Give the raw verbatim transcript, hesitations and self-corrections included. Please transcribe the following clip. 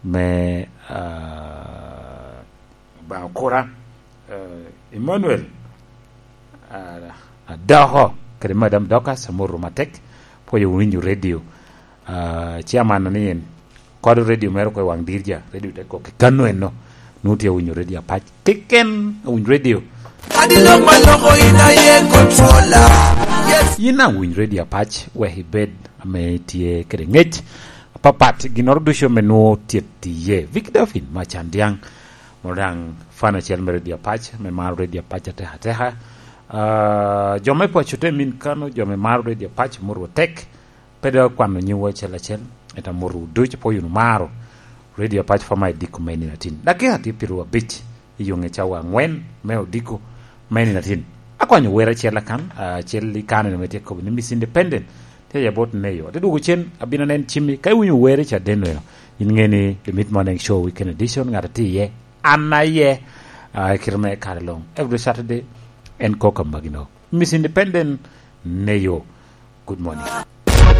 me, ah, Obaŋa okura, eh, Emmanuel, ah, Adoko, kede Madam Dorcas, amoro matek, pwoyo winyo redio. Ah, chairman ni en, kod redio mere kwe waŋ dirja, redio te kok i kano eno, nu tye winyo redio apac, keken awinyo redio. Adi lok ma loko in aye controller. Yes. Yin awinyo redio apac, wek ibed ame tye kede ngec apapat, ginnoro ducu ame nwo tye tiye. Vic Delphin, ma can diaŋ, moro daŋ fan acel me redio apac, me maro redio apac ateka ateka. Ah, jo me paco te min kano, jo me maro redio apac, moro tek, pe dok akwano nyingwu acel acel, ento amotwu ducu, pwoyo wunu maro redio apac fama i diko me nino atin. Dakika tye piero abic i yoŋe cawa angwen me odiko me nino atin. Akwanyo wer acel akan, acel i kano eno me tye kobo ni Miss Independent, tye ya bot neyo. Ate dwogo cen, abino nen cimmi, ka iwinyo wer i caden eno, in ŋe ni The Mid Morning Show Weekend Edition, ŋat atye iye, an aye, ah, i kite me kare luŋ. Every Saturday, en kok amagino. Miss Independent, neyo. Good morning.